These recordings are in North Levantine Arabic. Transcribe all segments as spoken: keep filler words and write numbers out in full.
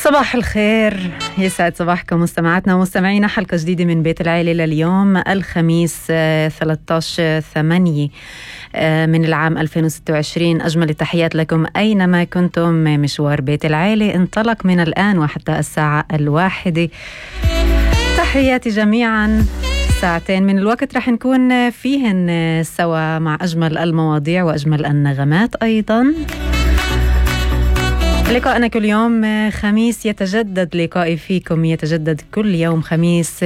صباح الخير، يسعد صباحكم مستمعاتنا ومستمعينا. حلقة جديدة من بيت العيلة لليوم الخميس ثلاثة عشر ثمانية من العام ألفين وستة وعشرين. أجمل التحيات لكم أينما كنتم. مشوار بيت العيلة انطلق من الآن وحتى الساعة الواحدة. تحياتي جميعا. ساعتين من الوقت رح نكون فيهن سوا مع أجمل المواضيع وأجمل النغمات أيضا. لقاءنا كل يوم خميس يتجدد، لقائي فيكم يتجدد كل يوم خميس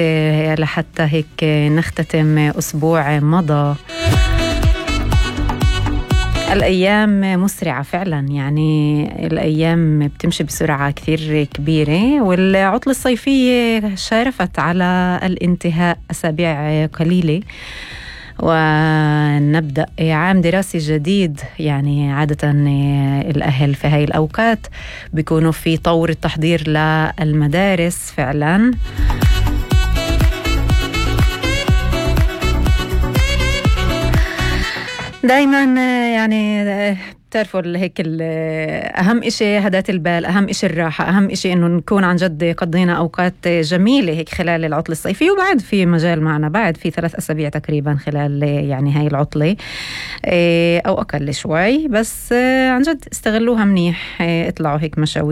لحتى هيك نختتم أسبوع مضى. الأيام مسرعة فعلا، يعني الأيام بتمشي بسرعة كثير كبيرة، والعطلة الصيفية شارفت على الانتهاء أسابيع قليلة ونبدأ عام دراسي جديد. يعني عادة الأهل في هاي الأوقات بيكونوا في طور التحضير للمدارس فعلا. دايما يعني بتعرفوا هيك أهم إشي هدات البال، أهم إشي الراحة، أهم إشي إنه نكون عن جد قضينا أوقات جميلة هيك خلال العطلة الصيفية، وبعد في مجال معنا بعد في ثلاث أسابيع تقريبا خلال يعني هاي العطلة أو أقل شوي، بس عن جد استغلوها منيح. اطلعوا هيك مشاوير